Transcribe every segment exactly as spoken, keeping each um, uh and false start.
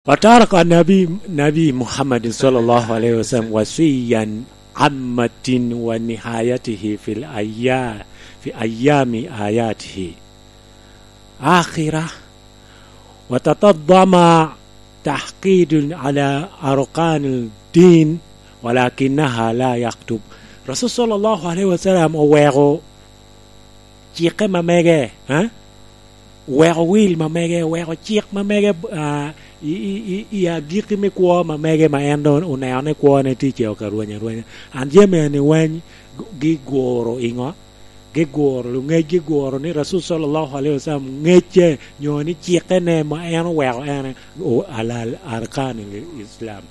وترك النبي، نبي محمد صلى الله عليه وسلم، وصيا عامة ونهايته في الأيا-، في أيام حياته آخرة، وتتضمن تأكيد على أركان الدين، ولكنها لا يكتب. Racul صلى الله عليه وسلم oweko cikke ma mege, eh? Oweko wil ma mege, oweko cik ma mege, ah, i, i, i, i agikki me kwo ma mege ma en doŋ oneno ni kwone tye ceo ka rweny arwenya. An jami eni weny gi-, giguro i ŋo? Giguro, luŋec giguro ni Racul صلى الله عليه وسلم ŋecce, nyo ni cikkene ma en oweko en o-, alal arkan Islam.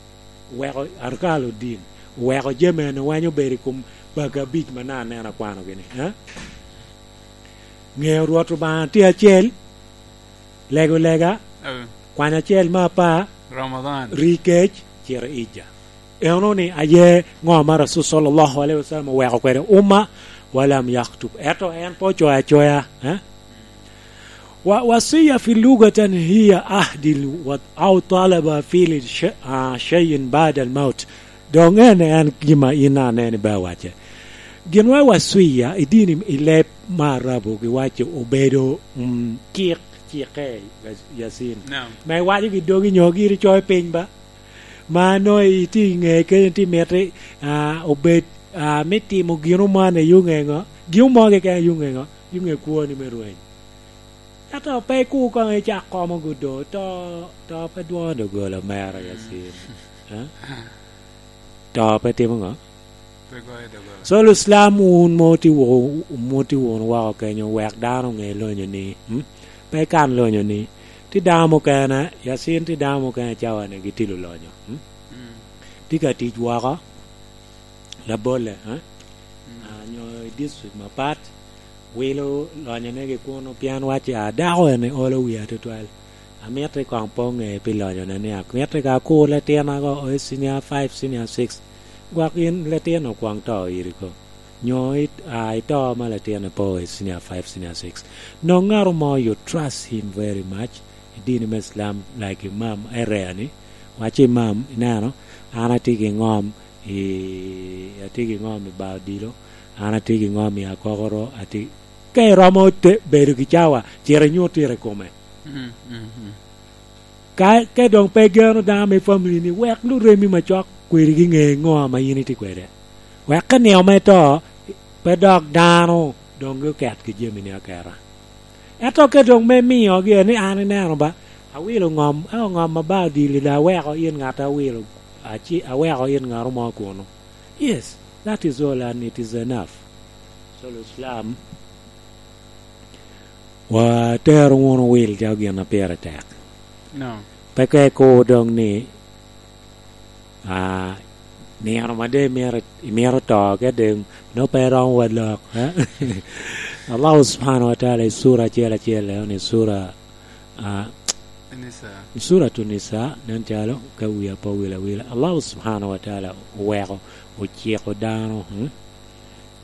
Oweko arkan din. Oweko jami eni weny obedo i kom baga abic ma naka aneno akwanogi ni, eh? Ŋeyo Rwot Obaŋa tye acel, lego lega, Eh. kwanyo acel me apar, Ramadan. Ri kec, cito ija. Eno ni aye ŋo ma Racul صلى الله عليه وسلم oweko kwede umma, ولم يكتب. Ento en pe ocoyo acoya, eh? و-، وصية في اللغة هي عهد ال-، و-، أو طلب فعل ش-، آه، شيء بعد الموت. Doŋ en, en gin ma in aneno ibe awacce. Gin wa waswiya i dini, i leb me Arabu giwaco obedo, mm, cik, cikke, Yacin. Naam. Ma iwaco gi dogi nyo giri coyo piny ba. Ma nongo itye i ŋe kenyo, itye miti, ah, obed, ah, me timo gino man i yo ŋe ŋo? Gin mo keken i yo ŋe ŋo? Yo ŋe kwoni me rweny. Ento pe ikur koŋ icak komo gudo, to, to pe dwoŋo doggola mera, Yacin. Eh? To pe timo ŋo? Pe goyo doggola. So, Lucilam, wun mo tye wunu, mo tye wunu woko kenyo, wek dano oŋe lonyo ni, mm, pe ikan lonyo ni, tye dano mukene, Yacin, tye dano mukene cawa-ni gitye lulonyo, mm? Mm. Tye ka tic woko, Labolle, eh? Mm. Ah, nyo i district mapat, wilo lonyonegi kunu, pien wacce, "Ah, dako eni olo wiya tutwal. Amito koŋ pe oŋe pi lonyone ni amito ka akur latina go o i senior five, senior six. Gwok in latin okwoŋ to iri ko. Nyo it-, ah, ito ma latin pe o i senior five, senior six." Nongo ŋato mo, you trust him very much. I dini me Islam, like imam, area ni, wacce imam, ineno, an atye ki ŋom, i, atye ki ŋom i bar odilo, an atye ki ŋom i akokoro, atye, ka iromo te-, bedo ki cawa, cit inyut tira i kome. Mm, mm, mm. Ka, ka doŋ pe igeno dano me family ni, wek luremi macok kwedigi ŋe ŋo ame in itye kwede. Wek ka nino me to, pe dok dano doŋ oket ki jamini aketa. Ento ka doŋ me miyogi ni an ineno ba, awilo ŋom, eo ŋom ma ba odili, da aweko in ŋat awilo, aci-, aweko in ŋat mo kunu. Yes, that is all and it is enough. So, Islam, watero wunu wil calo gin a pire tek. No. Pe ka ikur doŋ ni, ah, nino ma de imito, imito to kede, nongo pe iromo wa lok, eh? Allah subhanahu wa ta'ala i sura acel acel, eh, ni sura, ah, Nisa. Suratu Nisa, nen calo ka wiya pe owil awila. Allah subhanahu wa ta'ala oweko, ociko dano, hmm?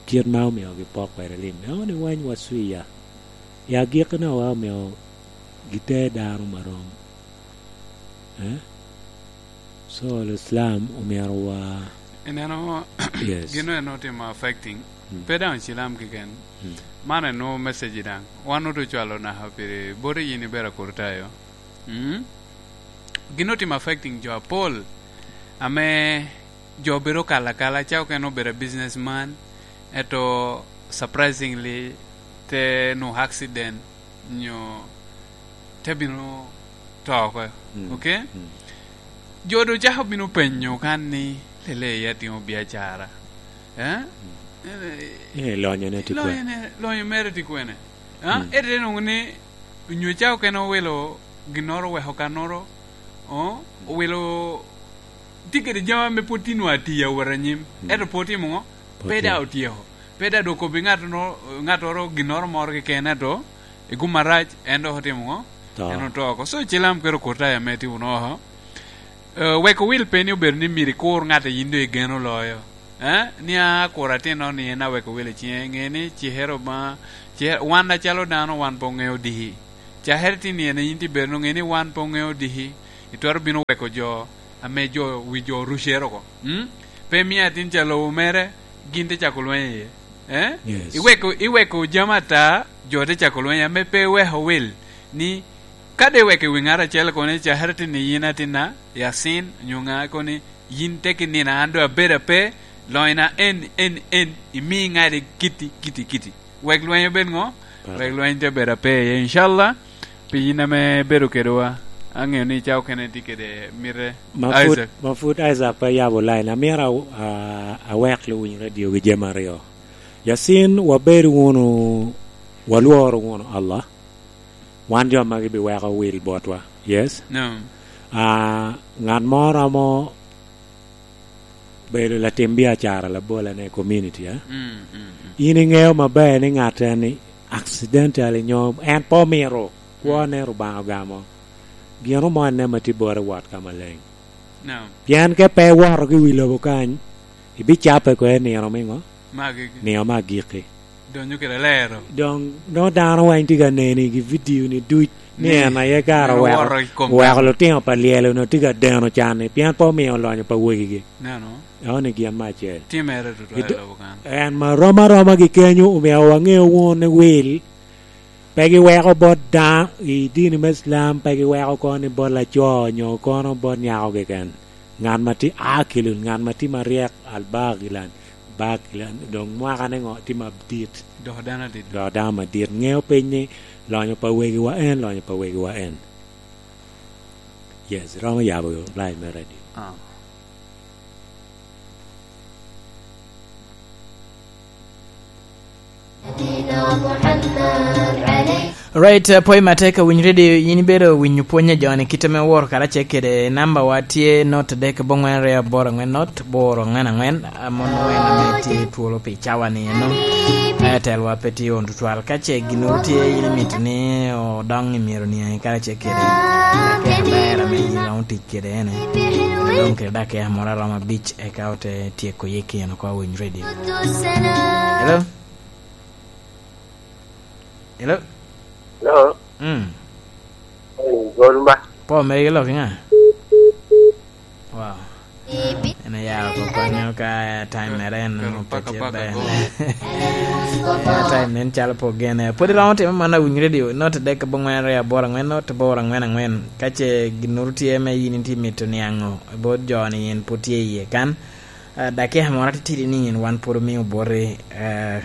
Kit ma omiogi pok kwede lim. Eno ni wany waswiya. I agikki na wa omio giter dano marom. Eh? So, Islam omyero wa Ineno, Yes. Gino en otimo affecting. Mm. Pe daŋ Cilam keken. Mm. Man en nwoŋo message daŋ. Wan oto cwalo naka piri, boti yin ibedo Akurtayo. Mm? Gino otimo affecting jo apol. Ame jo bedo kala kala, ca okene obedo businessman, eto surprisingly, te nwoŋo accident, nyo te bino to oko. Mm. Okay? Mm. Jo doŋ cako bino penyo kan ni, "Lele ya timo biacara? Eh? Mm. Eh, lonyone tye kwene? Lonyone, lonyo mere tye kwene?" Ah, mm. Ete nwoŋo ni, onyo ca okene owilo ginnoro, oweko kannoro, oh, owilo, tye kede jami ame pwod tye nwa atiya owot anyim, mm, ento pwod timo ŋo? Pwod pe tye. Daŋ otyeko. Pe daŋ dok kobbi ŋat no-, ŋattoro ginnoro moro keken, ento i gum arac, en dok otimo ŋo? To. En oto oko. So, Cilam kede Okurtayo ame tye wunu oko. Eh, wek owil pe ni obedo ni myero ikur ŋat a yin doŋ igeno loyo. Eh? Ni a kur atinno ni en aweko wil i ciŋe, ŋe ni cikere ma, cikere, wan acalo dano, wan pe oŋeo diki. Cakere tye ni en a yin tye bedo, ŋe ni wan pe oŋeo diki. twero bino weko jo ame jo, wi jo orucere oko. Mm? Pe mio atin ca lobo mere, gin te cako lweny iye. Eh? Yes. Iweko, iweko jami ata, jo te cako lweny, ame pe iweko wil ni ka de iweko i wi ŋat acel kono, icakere tin ni yin atinna, Yasin, onyo ŋa kono, yin te ki nino an doŋ abedo ape, lonya en, en, en, imi ŋadi kiti, kiti, kiti. Wek lweny obed ŋo? Wek lweny te bedo ape iye, incallah. Pi yin ame ibedo kedwa, aŋeo ni ca okene tye kede mite. Ma pud, Isaac. Ma pud Isaac pe yabo line, amito a-, a-, awek luwiny radio gi jami aryo. Yasin, wabed wunu, walworo wunu Allah. Wan jo magi biweko wil botwa. Yes? No. Ah, ŋat mo romo bedo latim biacara labola ne community, eh? Mm, mm, mm. In iŋeo maber ni ŋat en ni accidentally nyo en pe omito kwone Rubanga ogamo. Gino mo enne ma tye bot i wot ka maleng. No. Pien ka pe iwoto ki wi lobo kany, ibicape ko i nino miŋo? Magigi. Nino me agikki. Donyo kede lero. Doŋ, doŋ dano weng tye ka neni gi video ni duc, ni en aye kara oweko, oweko lutino pa lyelo onongo tye ka deno can-ni, pien pe omio olonyo pa wegigi. Neno. Eo ni gin me acel. Timere tutwal i lobo kan. En ma rom aroma gi kenyo, omio waŋeo wunu ni wil pe giweko bot daŋ i dini me Islam, pe giweko kono ni bot laco, nyo kono bot nyako keken. Ŋat ma tye akilun, ŋat ma tye maryek, albagilan, bagilan, doŋ mwakane ŋo tye madit. Doko dano adit. Doko dano madit. Ŋeo piny ni lonyo pa wegiwa en, lonyo pa wegiwa en. Yes, romo yabo line me radio. Ah. Right, eh, pwony matek, winyo radio, yin ibedo winyo pwony a joni kite me woro karacel kede namba wa tye not adek bongwen ryo aboro angwen not boro angwen angwen, amon wen ame tye twolo pi cawa ni eno. Airtel wa pe tye on tutwal. Ka ce gin tye yin imito ni odong i myero niaŋ karacel kede. Kede ber ame yin romo tic kede ene. Dong kede dakika moro aromo abic eka ote tyeko ye keno ko winyo radio. Hello? Hello? Hello? Mm. Hey, Golumba. Po, mere ilok iŋa? Wow. En ayaro ko konyo ka time mere en. Pero paka, paka ber. Go. Eh, time nen calo po gene. Pwod iromo timo man awiny radio. Not adek abongwen ryo aboro angwen, not aboro angwen angwen. Ka ce ginnoro tye me yin itye mito niaŋo, bot jo ni yin pwod tye iye kan. Ah, dakika moro atitidi ni yin wan pwod omio boti, eh,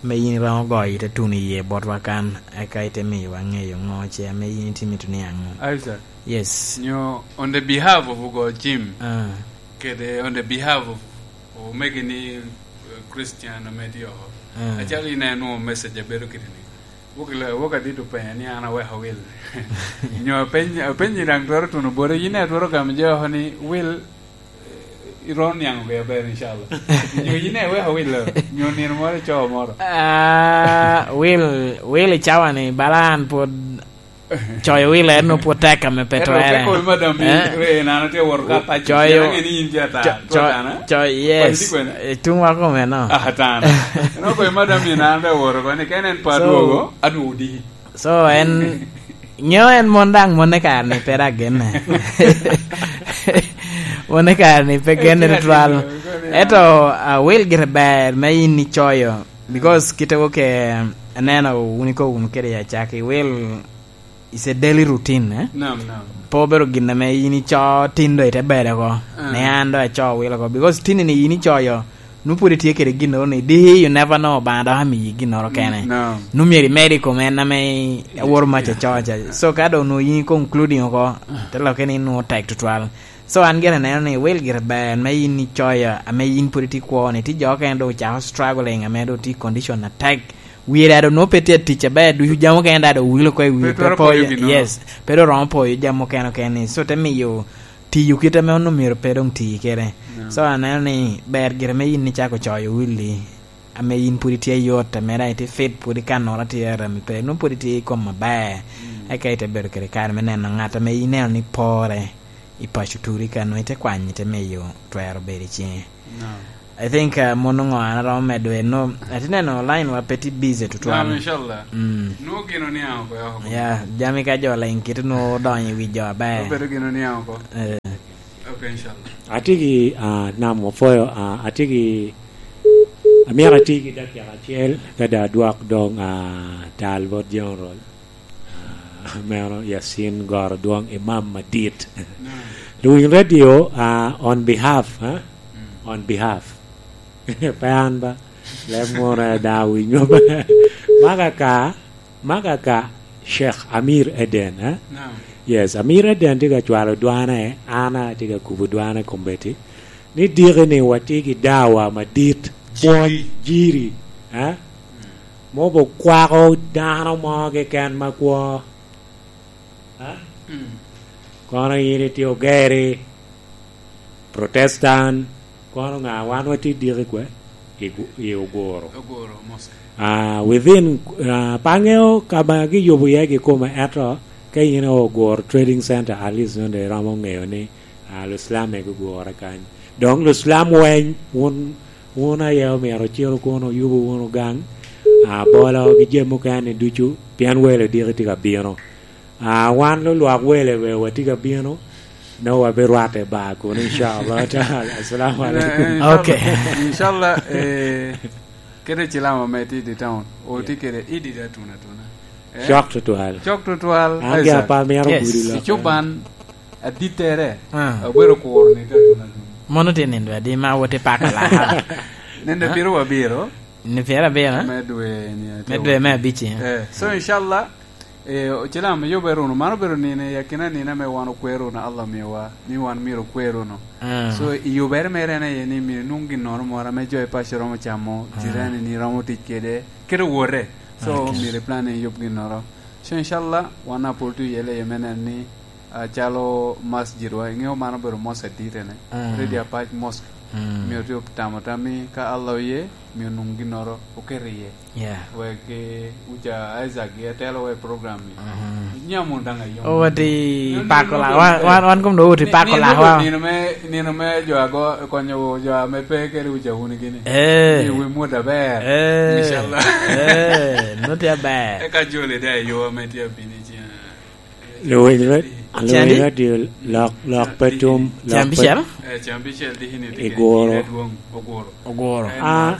me yin iromo goyo ite tuno iye botwa kan, eka ite miyowa ŋeyo ŋo ce ame yin itye mito niaŋo. Isaac. Yes. Nyo on the behalf of Ogo Jim, ah, kede on the behalf of omegi ni, eh, Christian ame tye oko. Ah. Acalo in en nwoŋo message abedo kede ni. Wok ilo-, wok adit openyo ni an aweko wil. Nyo apeny-, apenyi daŋ twero tuno boti, yin daŋ twero gamo je oko ni wil, eh, iromo niaŋ oge aber, incallah. Nyo yin daŋ iweko wil, nyo nino moro ico moro. Ah, wil, wil i cawa ni, bala an pwod coyo wil en nwoŋo pwod tek ame pe twere. Ento pe kol madam in, eh? Re, nano tye woro ka paco, coyo, cen ange ni in tye ata, co-, tye co-, ata, eh? Coyo, yes. Kwani tye kwene? Eh, tungwa kome no. Ah, ata. Nongo koyo madam in nano tye woro koni, ka en en pe, so, adwogo, adwogo diki. So, en, nyo en mon daŋ, mon e kare ni pe daŋ genne. Mon e kare ni pe genne tutwal. Ento, ah, wil gire ber me in icoyo. Because kite wo ke aneno wun ikobo wunu kede i acakki, wil is a daily routine, eh? Nam, nam. Pe obedo gin ame in ico tin do ite bedo oko. Ah. Ne an do aco wil oko. Because tin ni in icoyo, nu pwod itye kede ginnoro ni, di you never know, Obaŋa dok amiyi ginnoro kene. Nam. Nu myero imedi i kom en ame aworo mac aco ca. So, ka do nu in concluding oko, te lokke ni nu tek tutwal. So, an gire aneno ni wil gire ber me in icoyo, ame in pwod itye kwo ni, tye jo okene do ocako struggling, ame do tye condition atek. Wie daŋ do nwoŋo pe tye atic aber, ducu jami okene daŋ do owilo oko i wie, pe twero poyo ginnoro. Yes, pe do romo poyo jami okene okene ni. So, te miyo tiyo kit ame onwoŋo myero pe doŋ ti kede. Yeah. So, aneno ni ber gire me in icako coyo willi, ame in pwod itye ayot, ame daŋ itye fit, pwod ikannoro tye arami pe, nwoŋo pwod itye i kom aber. Mm. Eka ite bedo kede kare me neno ŋat ame ineno ni pore i paco turi ka, nwoŋo ite kwanyo, ite miyo twero bedo i ciŋe. No. I think, uh, mon ongo an aromo medo en, no, atye neno line wa pe tye busy tutwal. Naam, inshallah. Mm. Nwoŋo gin oniaŋ oko ya oko. Ya, jami ka jo ling kite nwoŋo odonyo i wi jo aber. Obedo gin oniaŋ oko. Eh. Ok, inshallah. Atye ki, ah, nam opwoyo, ah, atye ki, amyero atye ki dakika acel, ka da adwok doŋ, ah, tal bot General. Ah, meno Yasin Goro Dwong, imam madit. Luwiny Radio, ah, on behalf, ah, on behalf. Pe an ba, leb moro daŋ awinyo. Maka ka, maka ka, Sheikh Amir Eden, eh? Yes, Amir Eden tye ka cwalo dwane, an atye ka kubo dwane kombeddi. Ni diki ni watye ki dawa madit, pwony jiri, eh? Mobo kwako dano mo keken ma kwo. Ha? Mm. Kono in itye ogeri, Protestant, kono ŋa wan watye diki kwe? I gu-, i Oguro. Oguro, mosque. Ah, within, ah, pe aŋeo ka ma giyubo iye kikome, ento ka in i Oguro Trading Center, at least nonde iromo ŋeyo ni, ah, Lucilam egi ogure kany. Dong Lucilam weny, wun, wun aye omyero ocito kono oyubo wunu gang, ah, bolo ki jami mukene ducu, pien welo diki tye ka bino. Ah, wan lulwak wele be watye ka bino, nongo wabirwatte ba kun, inshallah taala. Assalamu alaikum. Eh, inshallah. Okay. Inshallah, eh, kede Cilam ame tye i town, otye kede idi da tuna tuna. Eh? Cok tutwal. Cok tutwal, an gi Isaac. Apa mito gudo loka. Icuban, adittere, ah, obedo kuro ni da tuna tuna. Mono tye nindo adi ma wot i pako laka? Nindo piro wabiro? Ni piro abiro, eh? Me dwe ni, me dwe me abic, eh. Eh, so, inshallah, eh, Ocilam, yubere wunu. Mano obedo nino i akina nino ame wan okwer wunu, Allah omiyowa, ni wan myero okwer wunu. Ah. So, i yubere mere en aye ni myero inwoŋ ginnoro moro ame jo i paco romo camo, ah, jirani ni romo tic kede, kede owote. So, okay, myero iplan ni iyub ginnoro. So, inshallah, wan apol tye oyelle iye me neno ni, ah, calo masjid wa, iŋeo man obedo mosque adit ene, mm, Ready Apac Mosque. Mm. Myero tye otamo tam ni ka Allah oye, myero onwoŋ ginnoro oket iye. Yeah. Wek, eh, uca Isaac gi atelo wa i program ni. Mhm. Nyam wun daŋ ayom. O, wati pako la, wan, wan, wan kom do wati pako la, wa. Nino me, nino me jo ago, konyo jo ame pe kede uca wun gini. Eh. Ni wi mut aber. Eh. Inshallah. Eh, nut aber. Eka jole da yo ame tye abini cina. Luwiny radio, luwiny radio, lok, lok pe tum, lok pe tum. Cambicel? Eh, Cambicel di hini i Guro. Oguro. Oguro. Ah,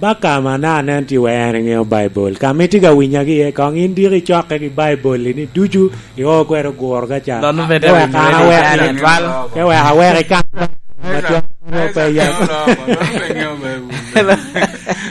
ba ka ma na anen ti wa en iŋeo Baibul. Ka ma itye ka winyagi iye, koŋ in diki icokke ki Baibul ni ducu, i o kwero Oguro ka ca. Dono bede. Ke wek an awek ni, ke wek awek i kan. Matwal pe yam.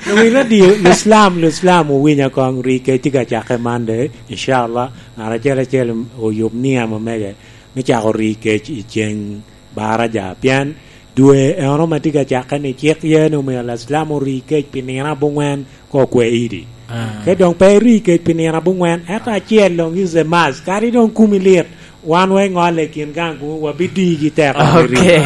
Luwiny radio, Luslam, Luslam, owinya koŋ ri kec tye ka cakke Monday, inshallah. Ngat acel acel oyub niya ma mege me cako ri kec i ceng baraja, pien dwe eno ma tye ka cakke ni cik ye ni omyero Laslam ori kec pi nino aboŋwen ka okwe idi. Ah. Ka doŋ pe iri kec pi nino aboŋwen, ento acel doŋ is a must. Kadi doŋ kumi lit, wan wa iŋolle i kin gang kuno, wabidigi teko me ri. Okay.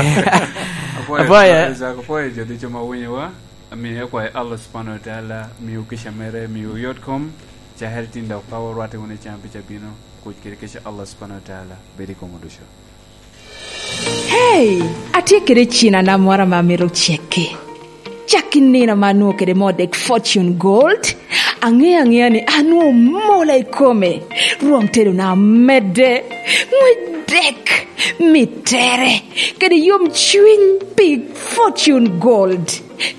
Apwoyo, apwoyo. Apwoyo, Isaac, apwoyo jo ducu ma winyowa. Amiyo akwayo Allah subhanahu wa ta'ala miu kica mere, miu yot kom, cakere tin dok ka orwatte wunu i cam pica bino, kuc kede kica Allah subhanahu wa ta'ala bed i komwu ducu. Hey, atye kede cinana moro ame amito cekke. Cak i nino ame anwoŋo kede moo dek Fortune Gold, aŋeyo aŋeya ni anwoŋo mola i kome, rwom tedona medde, ŋwec dek, mittere, kede yomcwiny pi Fortune Gold.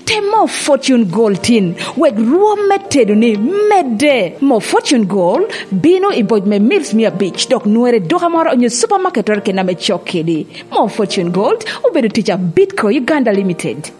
Tem moo Fortune Gold tin, wek rwom me tedoni medde. Moo Fortune Gold bino i boc me mils mia abic, dok nwere i duka moro onyo supamaket-oro keken ame cok kedi. Moo Fortune Gold obedo tic a Bitco Uganda Limited.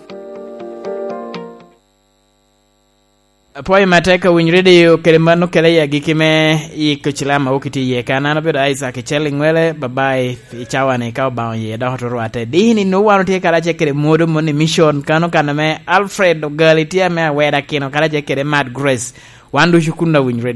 Apwoyo matek ka winyo redio kede mano kede i agikki me yiko cilam a wok itye iye kan. An obedo Isaac Icel Iŋwele, babai i cawa-ni ka Obaŋa oye dok oto rwatte. Dini nwoŋo wan otye karacel kede mwodo moni mission, kano kan ame Alfred Ogali tye ame aweda kino karacel kede Mad Grace. Wan ducu kun awinyo redio.